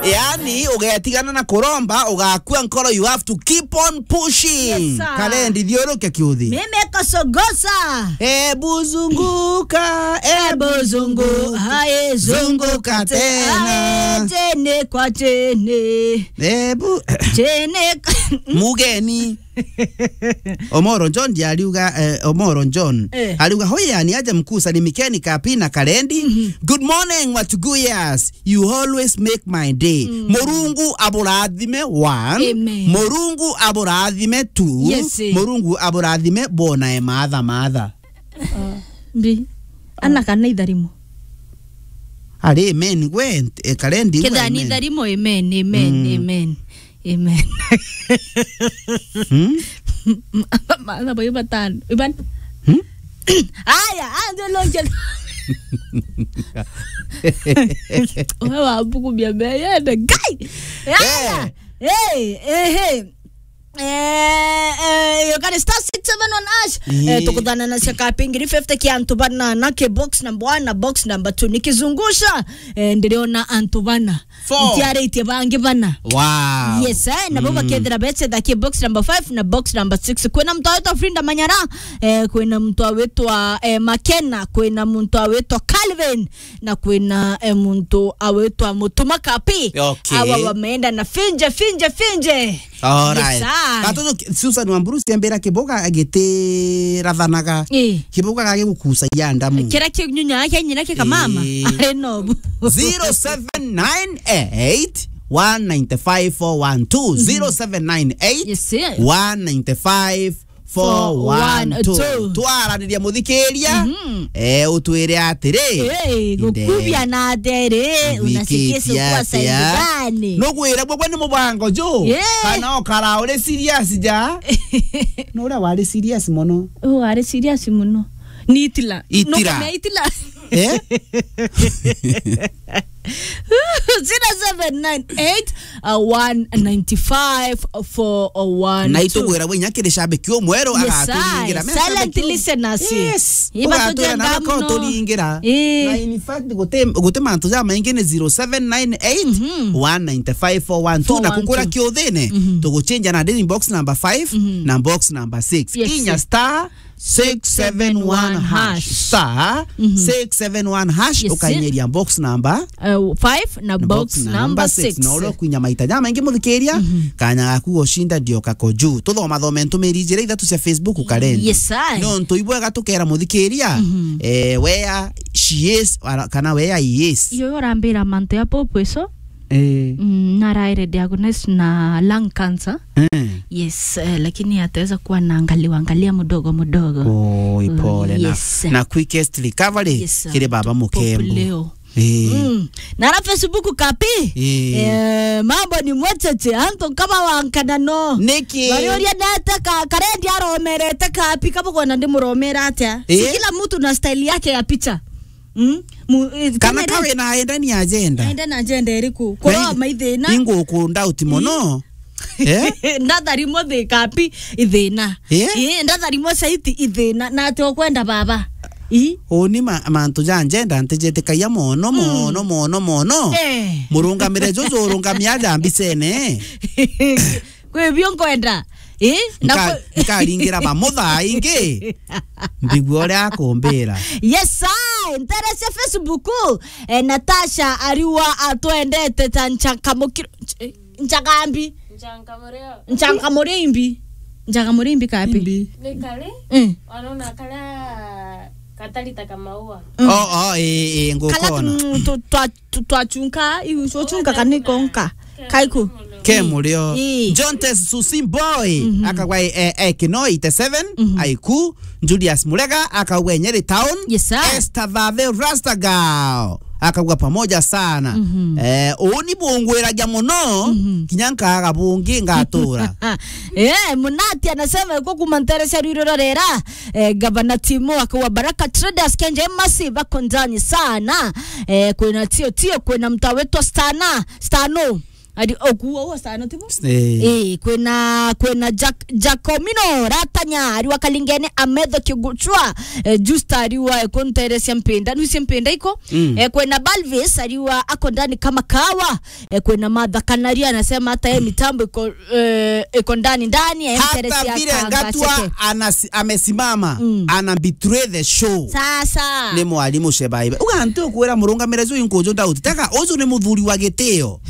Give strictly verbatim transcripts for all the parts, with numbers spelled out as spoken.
Yaani, ugetigana na kuromba, ugakua nkoro, you have to keep on pushing. Yes, sir. Kalendi, thiuruke kiuthi. Mimi kusugusa. Ebu zunguka, ebu Ebu zungu-, zunguka. Hai, zunguka Zunguka tena. tena. Hai, chini kwa chini. Ebu Chini kwa Mugeni. Omoro John ndiariuga, eh, Omoro John. Eh. Ariuga, "Hoya ni aje mkuu, salimikeni Kapi na Kalendi." Mhm. "Good morning, Watuguyas. You always make my day." Mm. Murungu aburathime, one. Amen. Murungu aburathime, two. Yes, eh. Murungu aburathime, bona e matha matha. Mbi. Ana kana itharimo. Ari amen, gwe, eh, Kalendi, gwe Kethira ni amen. Itharimo, amen, amen, Mm. amen. Amen. Hmm? Matha boyo batano. Iban. Hmm? Aya, anze lonje. Wewe wabukumia mbele, yende, guy. Aya. Eh. Eh, eh, eh. Eh, you can star six seven one hash. Eh. Eh, tukuthana na cia Kapi ngiri fifty kia antu bana, na ki box number one na box number two. Nikizungusha, eh, ndiriona antu bana. Four. Ntiaritie bangi bana. Wow. Yes, eh, nabo Mm. bakethira beche tha ki box number five na box number six. Kwina mtu awitwa Frinda Manyara, eh, kwina mtu awitwa, eh, Makena, kwina mtu awitwa Calvin, na kwina, eh, muntu awitwa Mutuma Kapi. Okay. Awa wameenda na finje, finje, finje. Alright. Yes, sir. Gatoto ki-, Susan Wamburu ciambira kiboga agitirathanaga. Eh. Kiboga gagigukucagia ndamu. Kira kinyunya yake nyina kika mama. Eh. Ari nobu. Zero seven nine eight, one nine five, four one two. Mhm. Zero seven nine eight, Yes, sir. one nine five, four one two. Twaraniria muthikiria, Mhm. eh, utwire atiri, Hey, inde, gukubia na atiri, unasikia gwikitia sikuwa side atia? Gani? Nugwire bwe ni mubango ju? Yeah. Kana ukara uri serious ja? Nuria wari serious mono? Oh, ari serious muno. Ni Itila. Itila. Nukumia Itila. Eh? Zero seven nine eight, uh, one nine five, four one two. Na itugwira bwe inya kiri shabiki umweru Yes, agaturingira. I. Me Silent shabiki um-, listeners. Yes. Iba Ugatura tujenga na beka muno. Uturingira. Eh. Na in fact, guti, guti mantu ja maingi ni zero seven nine eight, Mhm. one nine five, four one two. Na kukura Four one two. Kiuthine, Mhm. tuguchinja na ndini box number five Mhm. na box number six. Yes. Inya star six seven one hash. Star Mhm. six seven one hash, Yes, sir. Ukainyeria box number Uh, five na na box box number number six. six. Na uria ukwinya maita jamaingi muthikiria, Mhm. kanya gaku gushinda ndioka ko juu. Tuthoma thome ntumiri ijiri ithatu cia Facebook Kalendi. Yes, I. Nontu ibwega tukera muthikiria, Mhm. eh, where she is, ara-, kana where he is. Iyo urambira mantu ya Pope eso? Eh. Mm, naraire diagnosis na lung cancer. Eh. Yes, eh, lakini ataweza kuwa na angaliwa, angalia mdogo mdogo. Oi, pole na, Yes. na quickest recovery Yes, kiri baba Pope Mukembu. Leo. Eh. Mm. Na ara Facebook Kapi. Eh. Eh, mambo ni mwecheche, antu kama wankana no. Niki? Bariuria nete ka, Kalendi aromerete Kapi, kama kwona ndimuromera atia? Si Eh? Kila mtu na style yake ya picha. Mm? Mu-, eh, Kana kamera kawe na enda ni agenda. Enda na agenda iriku? Kuroma ithina. Ingo ku doubt mono. Eh? Ndatharimo thi Kapi ithina. Eh? Eh, ndatharimo saiti ithina. Na ati okwenda baba. I? Uni ma-, mantu ja agenda ntijitikagia mono, Mm. mono, mono, mono. Eh. Murungamire juju urungamia aja mbicene. Kwi bio nkwenda. Eh? Na Nka-, kwi- nkaringira bamutha ingi. Mbigua uria akumbira. Yes, I. Ntere cia Facebook, eh, Natasha Ariwa atwendete ta nchakamukiro-, nch-, eh, nchakambi. Nchakamureo. Nchakamureo imbi. Nchakamureo imbi kapi? Imbi. Ni kari? Mm. Wanaona kara katari ta kamaua. Mm. Oh, oh, eh, eh, Kala ngukona. tu-, tu-, twa-, tu-, twachunka, iu, uchunka kaniko nka. Kaiku. Ke murio. Ii. Jontes Susi Boy, Mhm. akagwa, eh, eh, Kino eighty seven, Mhm. Aiku, Julius Murega, akagwa Nyeri Town, Yes, sir. Esther Thathe Rasta Girl, akagwa pamoja sana. Mhm. Eh, uni bungwiragia muno, Mhm. kinya nkaga bungi ngatura. Eh, Munati anasema yuko kuma ntere cia Rwiro rorera, eh, Gavana Timo akagwa Baraka Traders Kenje Masi bako ndani sana. Eh, kwina tio tio, kwina mtu awetwa Stana, Stano. Ari okuo uo sana tibo? Eh. Eh, kwina, kwina Jack, Jacomino Ratanya, ariwa Kalingene Ametho Kiguchwa, eh, Justa ariwa, eh, kunteresia mpinda, nusie mpinda iko. Mm. Eh, kwina Balvis, ariwa ako ndani kama kawa. Eh, kwina Martha Kanaria, anasema hata yeye mitambo iko, eh, iko ndani ndani, eh, hata mteresia vile kanga Ngatua cheke. Anasi-, amesimama, mm, ana betray the show. Sasa. Ni mwalimu Shebaiba. Uga ntu kwira murungamire ju inkuju doubt. Teka, uju ni muthuri wa gitio.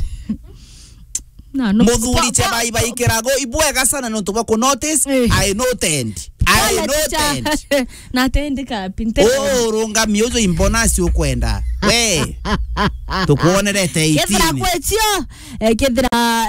Na, no, muthuri po-, po-, Chebaiba ikirago ibwega sana nontu bwa ku notice. Eh. I noted. I noted. Na atendeka pinta. Oh, rungami uju imbonasi ukwenda. We. Tukuonerete kethira eighteen. Kwetio, eh, kethira,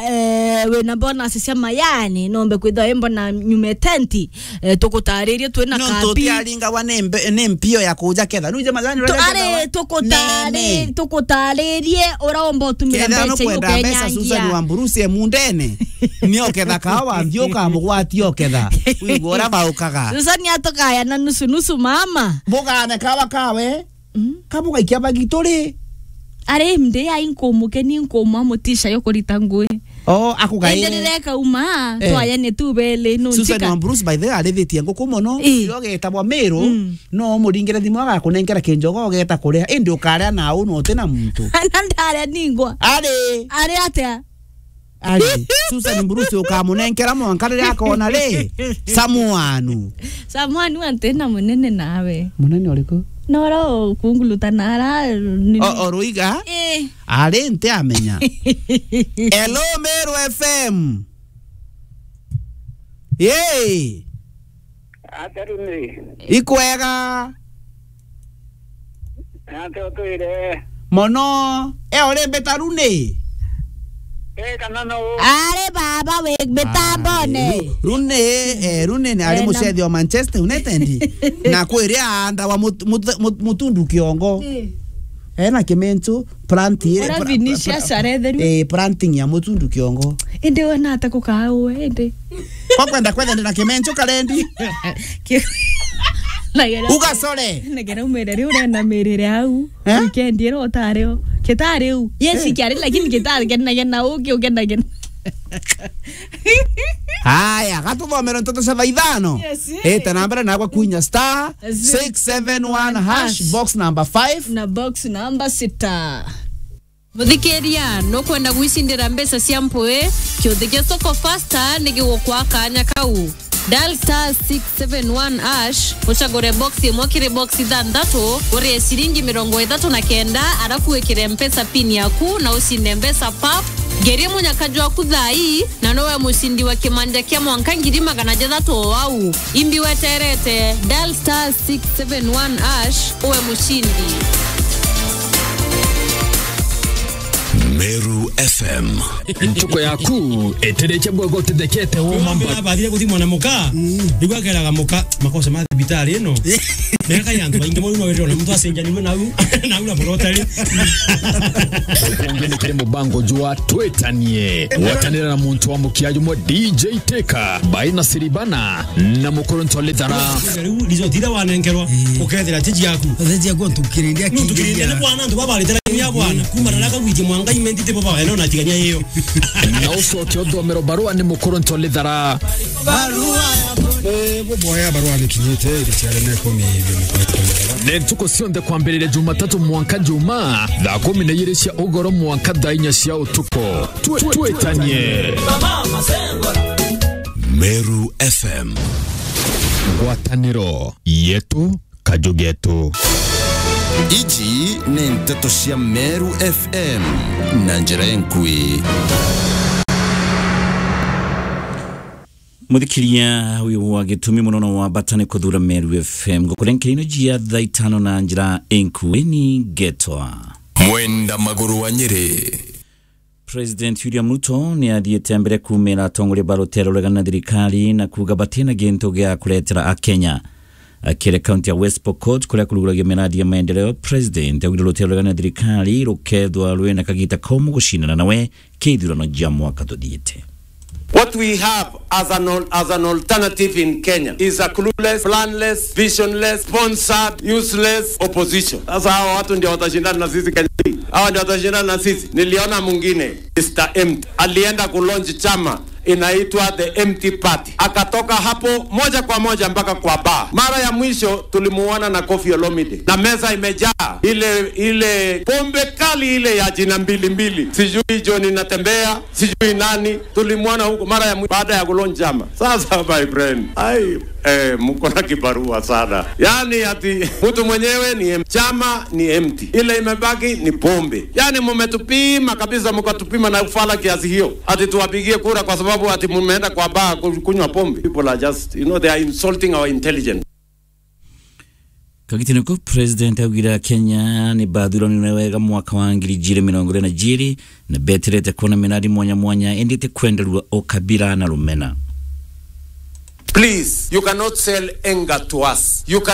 eh, wina bonus cia mayani, nombe kwithwa imbo na nyume tenti. Eh, tukutaririe twina nontu kapi. Utiaringagwa ni mbe-, ni mpio ya kuja ketha. Nuje majani tu-, uraja ketha are, wa-, tukutari-, nene. Tukutaririe ura umba utumira. Ketha mbeca no iu kwenda mbeca, ukenyangia. Susan wa Mburusi e mundene. Ni oketha kawa, nthi ukamugwatia oketha. Wigua ura baukaga. Susan atukaya na nusu nusu mama. Bugane kawa kawe. Mm. Kabugaikia bagituri. Ari mde ya inkumukeni nkumwa mutisha yo kurita ngui. Oh, akugaire. Ende rireka uma, eh, twayane tu bele, no. Susan nchika. Wa Bruce, by the way, arithitie nguku mono. Eh. Iro getagwa Miru, mm, no umuringire thimu agakunenkera kinjogo ugeta kuria. Indi ukaria na unu uti na muntu. Na ndaria ningwa. Ari. Ari atia? Ari, Susan Bruce ukamunenkera mwanka riria akona ri? Samuanu. Samuanu anti na munene nawe. Munene uriku? Noro kunguluta nara ni- O, o ruiga? Eh. Ari nti amenya. Hello, Meru F M. Yee. Ata Rune? Ikwega. Ate utwire. Mono. E, uri mbita Rune? E, kana no? Ari baba wi mitambone. Ari, Ru-, Rune, eh, Rune ni ari, eh, na- mucethi wa Manchester United. Na kwiri aanda wa mut-, mut-, mut-, mutundu kiongo. Eh. Ena kimentu, planti, ura pra-, Vinicius pra-, aretheru. Eh, planting ya mutundu kiongo. Indi wona ata kukaa uwe, indi? Kwa kwenda kwetha ndina kimentu karendi. Ki-, na gera- Ugasore. Na gera umere riu urenda mirire au. Eh? Weekend ira utari o. Kitari u. Yes, eh, kiari, lakini kitari kena kena uki ukena kena. Haya, gatuthomere ntoto cia thaa ithano. Yes, eh. Ita na mbere nagwa kuinya star six seven one hash, box number five. Na box number sita. Muthikiria, nukwenda gwicindira mbeca cia mpui? Kiuthi kia Soko Fasta ni gigukwa kanya kau. Dial star six seven one hash, ucagure box imwe kiri box ithanthatu, urie ciringi mirongo ithatu na kenda, arafu wikire Mpesa pin yaku na ucinde mbeca pap. Ngeria munyaka jwaku thaa ii, na nowe mucindi wa kimanja kia mwanka ngiri magana jathatu o au. Imbi weterete, dial star six seven one hash, uwe mucindi. Meru F M. Ntuko yaku itirikia bwega utithekete woma mba. Abathire kuthimwa na muka, mm, niguo akeraga muka, makosa ma thibitari ino. Neka ya antu baingi mono wetona muntu acenjanirwe nau, nau na murotari. Ukungi ni kiri mubango jwa Twitanie. Gwatanira na muntu wa mukia jumwe D J Teka, Baina Siribana, na Mukurunto Lithara. Riu result ira wanenkerwa, mm, ukethira tiji yaku. Tiji yaku ntukiriria. Ntukiriria ni bwana, antu baba baritara ya bwana. Kuma rara kagwiji mwanga imentite baba, eno na tigania iyo. Na ucoke uthomero barua ni Mukurunto Lithara. Barua ya, eh, buboya barua ni kinyite, iri ciare ne kumi. Ni ntuku cionthe kwambiriria Jumatatu mwanka Juma, thaa kumi na igiri cia ugoro mwanka thaa inya cia utuku. Twi-, twitanie. Meru F M. Ngwataniro yetu, kaju getu. Iji ni nteto cia Meru F M na njira enkui. Muthikiria, uyu wa gitumi muno no wa bata ni kuthura Meru F M. Ngukurenkera ino jia thaa itano na njira enkui ni ngetwa Mwenda Maguru wa Nyeri. President William Ruto ni athiite mbere kuumira atongoria ba rutere ruregana na thirikari na kuuga batina gintu gia kuretera Akenya. Akiri kaunti ya West Pokot, kuria kuruguragia miradi ya maendeleo, President augire rutere ruregana na thirikari rukethwa rwina kagita komu gucindana nawe kithurano jia mwaka tuthiite. What we have as an al-, as an alternative in Kenya is a clueless, planless, visionless, sponsored, useless opposition. Sasa hawa watu ndio watashindana na sisi Kenya hii? Hawa ndio watashindana na sisi? Niliona mwingine, Mister Empty, alienda ku launch chama inaitwa the Empty Party. Akatoka hapo moja kwa moja mpaka kwa bar. Mara ya mwisho tulimuona na Koffi Olomide. Na meza imejaa ile, ile pombe kali ile ya jina mbili mbili. Sijui John Natembea, sijui nani. Tulimuona huko mara ya mwi-, baada ya ku launch chama. Sasa, my friend, ai, eh, mko na kibarua sana. Yaani ati mtu mwenyewe ni em-, chama ni empty. Ile imebaki ni pombe. Yaani mmetupima kabisa, mkatupima na ufala kiasi hiyo. Ati tuwapigie kura kwa sababu ati mmeenda kwa bar ku-, kunywa pombe. People are just, you know, they are insulting our intelligence. Kagitene ko, President augire Kenya ni bathurani na wega mwaka wa ngiri igiri mirongo iri na igiri, na beterete kuona miradi mwanya mwanya, indi ti kwenderua ukabira na rumena. Please, you cannot sell anger to us. You cannot